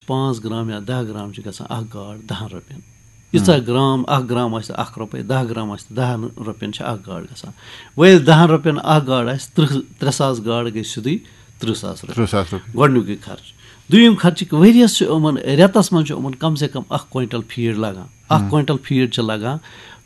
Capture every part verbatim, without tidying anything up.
پانٛژھ گرام یا دَہ گرام چھِ گژھان اَکھ گاڈ دَہَن رۄپیَن۔ ییٖژاہ گرام، اَکھ گرام آسہِ اَکھ رۄپَے، دَہ گرام آسہِ تہٕ دَہَن رۄپیَن چھِ اَکھ گاڈ گژھان۔ وۄنۍ ییٚلہِ دَہَن رۄپیَن اَکھ گاڈ آسہِ، تٕرٛہ، ترٛےٚ ساس گاڈ گٔے سیوٚدُے تٕرٛہ ساس رۄپیہِ۔ تٕرٛہ ساس رۄپیہِ۔ گۄڈٕنیُکُے خرچہٕ۔ دوٚیِم خرچہٕ، ؤریَس چھُ یِمَن، رٮ۪تَس منٛز چھُ یِمَن کم سے کم اَکھ کویِنٹَل فیٖڈ لَگان۔ اَکھ کویِنٹَل فیٖڈ چھِ لَگان،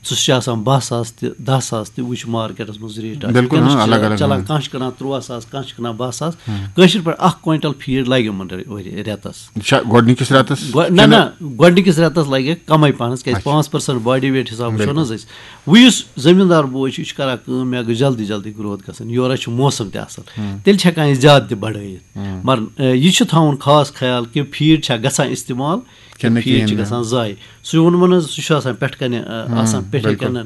سُہ چھُ آسان باہ ساس تہِ، دَہ ساس تہِ، وٕچھ مارکیٹَس منٛز ریٹ آسہِ۔ بِلکُل، وٕنکیٚنَس ہاں، چھِ الگ الگ، چَلان، ہاں۔ کانٛہہ چھُ کٕنان تُرٛواہ ساس، کانٛہہ چھُ کٕنان باہ ساس۔ کٲشِر پٲٹھۍ اَکھ کویِنٹَل فیٖڈ لَگہِ یِمَن رے-، ؤری، رٮ۪تَس۔ یہِ چھا گۄڈٕنِکِس رٮ۪تَس گۄ-، نہ، کِنہٕ نہ، گۄڈٕنِکِس رٮ۪تَس لَگہِ کَمٕے پَہنَس، کیٛازِ اچھا۔ پانٛژھ پٔرسَنٛٹ باڈی ویٹ حِساب وٕچھو نہ حظ بِلکُل۔ أسۍ۔ وۄنۍ یُس زٔمیٖندار بوے چھُ، یہِ چھُ کَران کٲم، مےٚ گٔژھ جلدی جلدی گروتھ گژھٕنۍ، یورٕ چھُ موسَم تہِ اَصٕل، تیٚلہِ چھِ ہٮ۪کان یہِ زیادٕ تہِ بَڑٲیِتھ۔ مگر، اے، یہِ چھُ تھاوُن خاص خیال کہِ فیٖڈ چھا گژھان استعمال، کِنہٕ فیٖڈ کِہیٖنۍ چھِ نہٕ۔ گژھان ضایع۔ سُہ ووٚنمَو نہ حظ، سُہ چھُ آسان پٮ۪ٹھ کَنہِ، اے، آسان پٮ۪ٹھٕ بِلکُل۔ کَنٮ۪ن،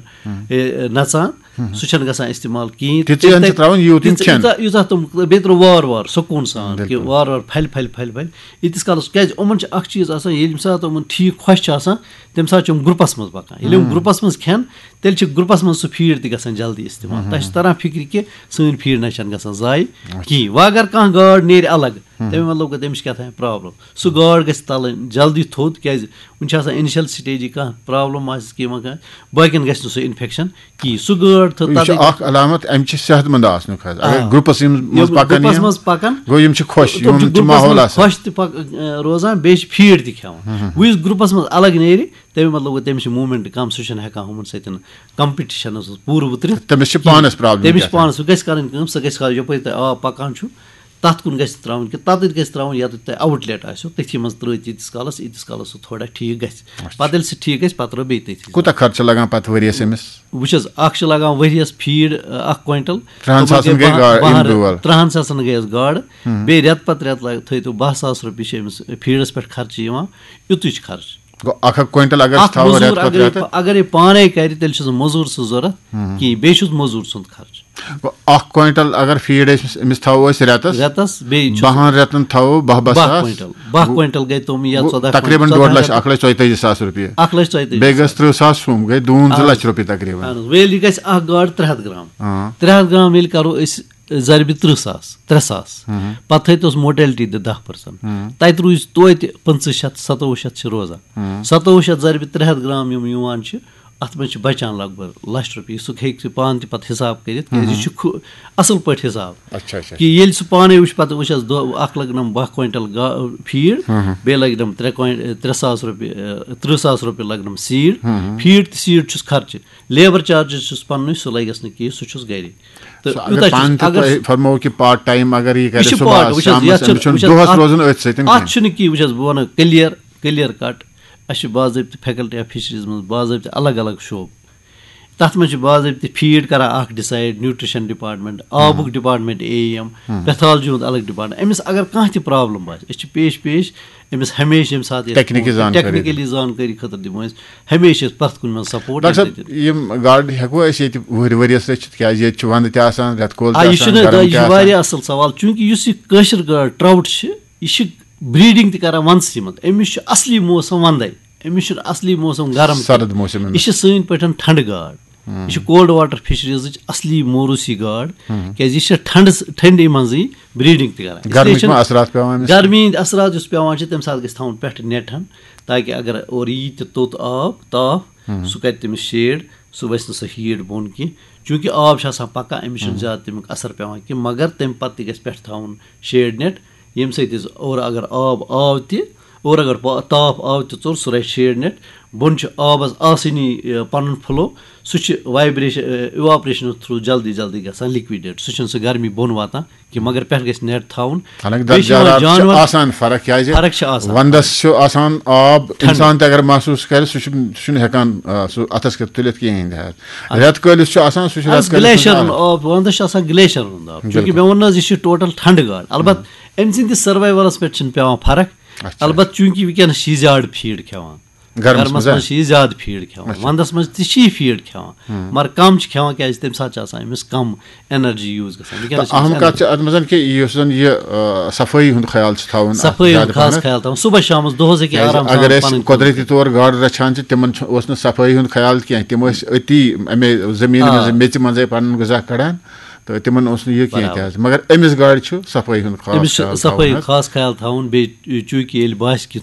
اے، نَژان، سُہ چھُنہٕ گژھان استعمال کِہیٖنۍ۔ تِژٕے ہن چھِ ترٛاوٕنۍ، یوٗت یِم تِژ-، کھٮ۪ن۔ یوٗتاہ، یوٗتاہ تِم، بیٚیہِ ترٛٲو وارٕ وارٕ سکوٗن سان، کہِ بِلکُل۔ وارٕ وارٕ پھَلہِ، پھَلہِ، پھَلہِ، پھَلہِ۔ ییٖتِس کالَس، کیٛازِ یِمَن چھِ اَکھ چیٖز آسان، ییٚلہِ ییٚمہِ ساتہٕ یِمَن ٹھیٖک خۄش چھِ آسان، تَمہِ ساتہٕ چھِ یِم گرُپَس منٛز پَکان۔ ییٚلہِ یِم گرُپَس منٛز کھٮ۪ن، تیٚلہِ چھِ گرُپَس منٛز سُہ فیٖڈ تہِ گژھان جلدی استعمال۔ تۄہہِ چھِ تَران فِکرِ کہِ سٲنۍ فیٖڈ نہ چھَنہٕ گژھان ضایع کِہیٖنۍ۔ وۄنۍ اگر کانٛہہ گاڈ نیرِ الگ، تَمہِ مطلب گوٚو تَمِچ کیٛاہ تام پرٛابلِم۔ سُہ گاڈ گژھِ تَلٕنۍ جلدی تھوٚد، کیٛازِ وٕنہِ چھِ آسان اِنِشَل سٹیجی، کانٛہہ پرٛابلِم آسہِ کینٛہہ ما کانٛہہ، باقیَن گژھِ نہٕ سُہ اِنفٮ۪کشَن کِہیٖنۍ۔ سُہ گٲڈ تھٲو، یہِ چھُ تَتٮ۪تھ اکھ علامت اَمہِ چہِ صحت مند آسنُک حظ۔ اگر آ۔ گرُپس یِم منٛز یِم پکان گرُپس یِم، منٛز پکان، گوٚو یِم چھِ خۄش، تِم یِمن چھِ چھُ گرُپس ماحول منٛز آسان۔ خۄش تہِ پک-، اَ، روزان، بیٚیہِ چھِ فیٖڈ تہِ کھٮ۪وان۔ وۄنۍ یُس گرُپس منٛز الگ نیرِ، تَمیُک مطلب گوٚو تٔمِس چھِ موٗمینٹ کم، سُہ چھُنہٕ ہٮ۪کان ہُمن سۭتۍ کمپِٹِشنس منٛز پوٗرٕ وُترِتھ۔ تٔمِس چھِ پانس پرابلم تٔمِس چھِ گژھان۔ پانس، سُہ گژھِ کرٕنۍ کٲم، سُہ گژھِ کرٕنۍ یپٲرۍ تۄہہِ آب پکان چھُ، تتھ کُن گژھِ ترٛاوُن، کہِ تتٮ۪تھ گژھِ ترٛاوُن، ییٚتٮ۪تھ تۄہہِ آوُٹ لیٹ آسیو، تٔتھی منٛز ترٛٲوِتھ ییٖتِس کالس، ییٖتِس کالس سُہ تھوڑا ٹھیٖک گژھِ۔ پتہٕ ییٚلہِ سُہ ٹھیٖک گژھِ، پتہٕ ترٛٲو بیٚیہِ تٔتھی۔ کوٗتاہ خرچہٕ لگان پتہٕ ؤریس أمِس؟ وٕچھ حظ، اکھ چھِ لگان ؤریَس فیٖڈ، اَ، اکھ کویِنٹل۔ ترٛہَن تِمن ساسَن گٔے بَہَن، گا-، یِم بَہَن، بیول۔ ترٛہَن ساسَن گٔیَس گاڈٕ۔ بیٚیہِ رٮ۪تہٕ پتہٕ رٮ۪تہٕ لگ-، تھٲیتو بَہہ ساس رۄپیہِ چھِ أمِس فیٖڈَس پٮ۪ٹھ خرچہٕ یِوان۔ یُتُے چھُ خرچہٕ۔ گوٚو اکھ اکھ کویِنٹل اگر أسۍ اکھ تھاوو مٔزوٗر رٮ۪تہٕ پتہٕ اگرے، رٮ۪تہٕ؟ اگرے پانے کرِ، تیٚلہِ چھُس نہٕ مٔزوٗر سٕنٛز ضوٚرتھ کِہیٖنۍ، بیٚیہِ چھُس مٔزوٗر سُنٛد خرچہٕ۔ گوٚو اکھ کویِنٹل اگر فیٖڈ أسۍ أمِس تھاوو أسۍ رٮ۪تس، رٮ۪تس بیٚیہِ چھُ بَہَن رٮ۪تن تھاوو بَہہ بَہہ بَہہ ساس۔ کویِنٹل، بَہہ گوٚو کویِنٹل گٔے تِم یا گوٚو ژۄداہ تقریٖباً کویِنٹل، ڈۄڈ ژۄداہ لَچھ، اَکھ لَچھ ژۄیہِ تٲجی ساس رۄپیہِ۔ اَکھ لَچھ ژۄیہِ تٲجی۔ بیٚیہِ گٔژھ تٕرٛہ ساس ہُم، گٔے دوٗن زٕ لَچھ رۄپیہِ تقریٖباً۔ اہن حظ، وۄنۍ ییٚلہِ یہِ گژھِ اکھ گاڈ ترٛےٚ ہَتھ گرام، آ۔ ترٛےٚ ہَتھ گرام ییٚلہِ کرو أسۍ ضربِ تٕرٛہ ساس، ترٛےٚ ساس، پتہٕ تھٲیتوس موٹیلٹی تہِ دَہ پٔرسنٹ۔ تَتہِ روٗزِ توتہِ پٕنٛژٕہ شَتھ، سَتووُہ شَتھ چھِ روزان۔ سَتووُہ شَتھ ضربِ ترٛےٚ ہَتھ گرام یِم یِوان چھِ، اَتھ منٛز چھِ بَچان لگ بگ لَچھ رۄپیہِ۔ سُہ ہیٚکہِ سُہ پانہٕ تہِ پَتہٕ حِساب کٔرِتھ، کیٛازِ یہِ چھُ کھُ-، اَصٕل پٲٹھۍ حِساب۔ اچھا، اچھا۔ کہِ ییٚلہِ سُہ پانَے وٕچھِ، پَتہٕ وٕچھَس دۄہ اَکھ لَگنَم بَہہ کویِنٹَل گا-، فیٖڈ، بیٚیہِ لَگنَم ترٛےٚ کویِن-، ترٛےٚ ساس رۄپیہِ، اَ، تٕرٛہ ساس رۄپیہِ لَگنَم سیٖڈ۔ فیٖڈ تہٕ سیٖڈ چھُس خرچہٕ، لیبَر چارجِز چھُس پَننُے، سُہ لَگٮ۪س نہٕ کینٛہہ، سُہ چھُس گَرے۔ تہٕ سُہ اگر یوٗتاہ چھُس، پانہٕ تہِ اگر تۄہہِ فرموو کہِ پارٹ ٹایم اگر یہِ یہِ کَرِ چھُ صُبحَس، پارٹ، وٕچھ حظ، شامَس، یَتھ چھُ، أمِس چھُنہٕ وٕچھ حظ، دۄہَس اَتھ، روزُن أتھۍ سۭتۍ اَتھ کینٛہہ۔ چھُنہٕ کینٛہہ، وٕچھ حظ، بہٕ وَنہٕ کٔلیَر، کٔلیَر کَٹ، اَسہِ چھِ باضٲبطہٕ فیکلٹی آف فِشریٖز منٛز باضٲبطہٕ الگ الگ شعبہٕ۔ تَتھ منٛز چھِ باضٲبطہٕ فیٖڈ کَران اَکھ ڈِسایڈ، نیوٗٹرِشَن ڈِپارٹمنٹ، آبُک ڈِپارٹمنٹ، اے ای ایم، پیتھالجی ہُنٛد الگ ڈِپارٹمنٹ۔ أمِس اگر کانٛہہ تہِ پرابلم باسہِ، أسۍ چھِ پیش پیش أمِس ہمیشہِ ییٚمہِ ساتہٕ یَتھ ٹیکنیکی فون، زانکٲری ٹیکنیکلی زانکٲری خٲطرٕ دِمو أسۍ ہمیشہِ أسۍ پرٛٮ۪تھ کُنہِ منٛز سپورٹ۔ ڈاکٹر صٲب، یِم گاڈٕ ہٮ۪کوا أسۍ ییٚتہِ وُہٕرۍ ؤریَس رٔچھِتھ؟ کیٛازِ ییٚتہِ چھُ وَندٕ تہِ آسان، رٮ۪تہٕ کول آ، تہِ یہِ آسان، چھُنہٕ، گرم یہِ تہِ چھُ آسان۔ واریاہ اَصٕل سوال، چوٗنٛکہِ یُس یہِ کٲشِر گاڈ ٹراوُٹ چھِ، یہِ چھِ بریٖڈِنٛگ تہِ کران وَندسٕے منٛز۔ أمِس چھُ اَصلی موسم وَندَے، أمِس چھُنہٕ اَصلی موسم گرم کینٛہہ۔ سرد موسم أمِس۔ یہِ چھِ سٲنۍ پٲٹھۍ ٹھنٛڈٕ گاڈ۔ یہِ چھِ کولڈ واٹر فِشریٖزٕچ اَصلی موروٗسی گاڈ، کیٛازِ یہِ چھِ ٹھنٛڈَس، ٹھنٛڈی منٛزٕے بریٖڈِنٛگ تہِ کران۔ اس لیے گرمی چھِنہٕ ما اثرات پٮ۪وان أمِس؟ گرمی ہِنٛدۍ اثرات یُس پٮ۪وان چھِ، تَمہِ ساتہٕ گژھِ تھاوُن پٮ۪ٹھٕ نیٹ ہن، تاکہِ اگر اورٕ یی تہِ توٚت آب، تاپھ، سُہ کَرِ تٔمِس شیڈ، سُہ ؤسۍ نہٕ سُہ ہیٖٹ بۄن کینٛہہ۔ چوٗنٛکہِ آب چھُ آسان پَکان، أمِس چھُنہٕ زیادٕ تَمیُک اثر پٮ۪وان کینٛہہ، مگر تَمہِ پَتہٕ تہِ گژھِ پٮ۪ٹھٕ تھاوُن شیڈ نیٹ، ییٚمہِ سۭتۍ أسۍ اورٕ اگر آب آو تہِ، اورٕ اگر پا-، تاپھ آو تہِ ژوٚل، سُہ رَٹہِ شیڈ نیٹ۔ بۄن چھُ آبَس آسٲنی، یہِ، پَنُن فلو، سُہ چھُ وایبریشن، اِواپریشن تھرٛوٗ جلدی جلدی گژھان لِکوِڈیٹ، سُہ چھُنہٕ سُہ گرمی بۄن واتان کینٛہہ، مگر پٮ۪ٹھٕ گژھِ نیٹ تھاوُن۔ حالانکہِ بیٚیہِ چھِ یِوان درجہ حرارت چھِ جانور آسان فرق، کیٛازِ فرق چھِ آسان۔ وَندَس چھُ آسان آب، ٹھنٛڈٕ۔ اِنسان تہِ اگر محسوٗس کَرِ، سُہ چھُ، سُہ چھُنہٕ ہٮ۪کان، آ، سُہ اَتھَس کٮ۪تھ تُلِتھ کِہیٖنۍ تہِ حظ۔ رٮ۪تہٕ کٲلِس چھُ آسان، سُہ چھُ رٮ۪تہٕ کٲلِس گلیشر منٛز آب، وَندَس چھُ آسان گلیشر ہُنٛد آب، چوٗنٛکہِ بِلکُل۔ مےٚ ووٚن نہ حظ، یہِ چھُ ٹوٹل ٹھنٛڈٕ گاڈ۔ البتہٕ أمۍ سٕنٛدِس سروایولَس پٮ۪ٹھ چھِنہٕ پٮ۪وان فرق۔ اچھا۔ البتہٕ چوٗنٛکہِ وٕنکیٚنَس چھِ یہِ زیادٕ فیٖڈ کھٮ۪وان۔ گرمَس گرمَس منٛز، منٛز چھِ یہِ زیادٕ فیٖڈ کھٮ۪وان، اچھا۔ وَندَس منٛز تہِ چھِ یہِ فیٖڈ کھٮ۪وان، مگر کَم چھِ کھٮ۪وان، کیٛازِ تَمہِ ساتہٕ چھِ آسان أمِس کَم انرجی یوٗز گژھان۔ وٕنکیٚنَس چھِ أمِس اہم کَتھ چھِ اَتھ منٛز کہِ یُس زَن یہِ، آ، صفٲیی ہُنٛد خیال چھِ تھاوُن اَتھ صفٲیی زیادٕ ہُنٛد خاص پَہَن۔ خیال تھاوُن، صُبحَس شامَس دۄہَس ہیٚکہِ کیٛازِ آرام اگر سان أسۍ پَنٕنۍ کٲم قۄدرٔتی کٔرِتھ۔ طور گاڈٕ رَچھان چھِ، تِمَن چھُ، اوس نہٕ صفٲیی ہُنٛد خیال کینٛہہ، تِم ٲسۍ أتی اَمے زٔمیٖنہِ آ۔ منٛزٕے میٚژِ منٛزٕے پَنُن غذا کَڑان، تہٕ تِمَن اوس نہٕ یہِ کینٛہہ تہِ برابر۔ حظ۔ مگر أمِس گاڈِ چھُ صفٲیی ہُنٛد خاص أمِس چھُ خیال صفٲیی تھاوُن حظ۔ خاص خیال تھاوُن، بیٚیہِ چوٗنٛکہِ ییٚلہِ باسہِ کہِ